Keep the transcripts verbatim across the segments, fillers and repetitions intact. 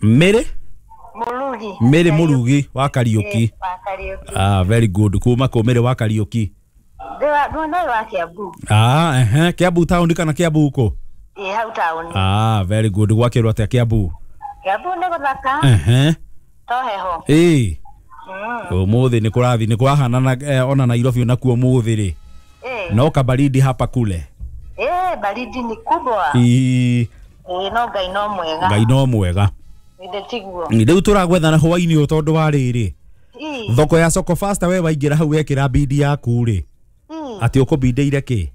Mary Murugi. Mary Murugi wa Kariuki. Wa Kariuki. Ah, very good. Kuma kũ Mary wa Kariuki? Ndĩ wa Kiambu. Ah, ehe, Kiambu town kana Kiambu kũ? Ĩ hau town. Ah, very good. Gwakĩrwo atĩa Kiambu? Kiambu nĩ gũthaka. Ehe. To heho. Ĩ. Ũmũthĩ nĩ kũrathi nĩ kũrahanana eh, ona Nairobi nakuo ũmũthĩ rĩ. No kabaridi hapa kule. Eh, baridi ni kubwa. Ĩ. Ĩ no Ngai no mwega. Ngai no mwega. Ndĩtiguo. Rĩu tũragwethana hwainĩ ũyũ tondũ wa rĩrĩ. Thoko ya Soko Faster we waingĩra hau wekĩra bidi yaku rĩ. Atĩ ũkũbindĩire kĩ?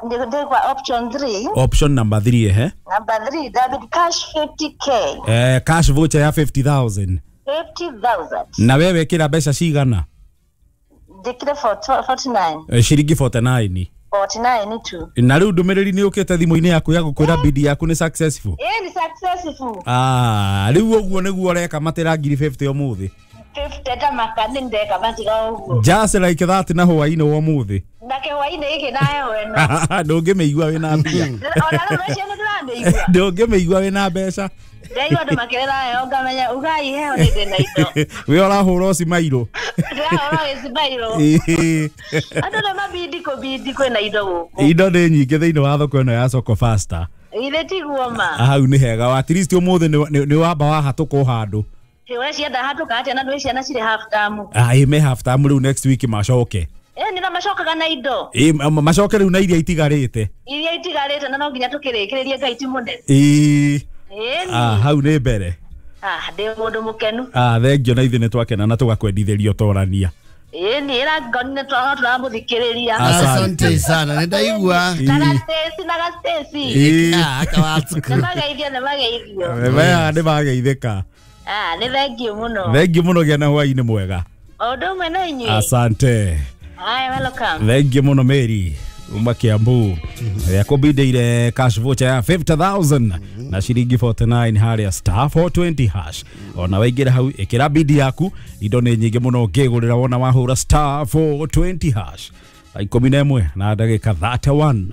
Ndĩkwa option three. Option number three ehe. Number three, David cash fifty K. Eh, cash voucher ya fifty thousand. fifty thousand. Na we wekĩra mbeca cigana? Ndĩkire forty-nine. Eh, ciringi forty-nine. forty-nine tu. Na rĩu ndũmĩrĩri nĩ ũkĩte thimũ-inĩ yaku ya gũkwĩra bidi yaku nĩ successful. Eh, ni successful. Ah, rĩu ũguo nĩguo ũreka matĩra ngiri fifty ũmũthĩ. fifty ta makani ndeka matira ũguo. Just like that na hwainĩ wa ũmũthĩ. Na ke hwainĩ gĩkĩ na heho ĩno. Ndũngĩmĩigua wĩna mbia. Ona rĩu rũciũ nĩndĩramĩigua. Ndũngĩmĩigua wĩna mbeca. Ndaigua andũ makĩrĩra heho ngamenya ugai heho nĩ ndĩ na indo. We ũrahũra ũcimairũ. Ndĩrahũra gĩcimairũ. Andũ nĩ mabindi kũbindi kwĩna indo gũkũ. Indo nĩ nyingĩ thĩinĩ wa thoko ĩno ya Soko Faster. Ithe tiguo ma. Hau nĩ hega. At least ũmũthĩ nĩ wamba wahatũka handũ. We cienda hatũka atĩa na ndwĩ ciana cirĩ half term. Ah, ĩ me half term rĩu next week macoke. Eh, nĩ na macokaga na indo. Ĩ macoke rĩu na iria itigarĩte. Iria itigarĩte na no nginya tũkĩrĩkĩrĩrie Ngai ti mũnene. Ĩ. Ah, hau nĩ mbere. Ah, ndĩ mũndũ mũkenu. Ah, thengio na ithuĩ nĩ twakena na tũgakwendithĩria ũtorania. Ĩ nĩ ĩra ngoni nĩ tũramũthikĩrĩria. Asante sana, nĩndaigua. Na Stacy na Stacy. Ah, akawatsuku. Nĩ mageithio nĩ mageithio. Maya nĩ mageithĩka. Ah, nĩ thengio mũno. Thengio mũno gĩa na hwainĩ mwega. O ũndũ ũmwe na inyuĩ. Asante. Haya, welcome. Thengio mũno Mary. Uma Kiambu. Yakũbindĩire cash voucher ya fifty thousand na ciringi forty-nine harĩa star four twenty hash. Ona waingĩra hau ĩkĩra bidi yaku indo nĩ nyingĩ mũno ũngĩgũrĩra wona wahũra star four twenty hash. Thaa ikũmi na ĩmwe na ndagĩka thirty-one.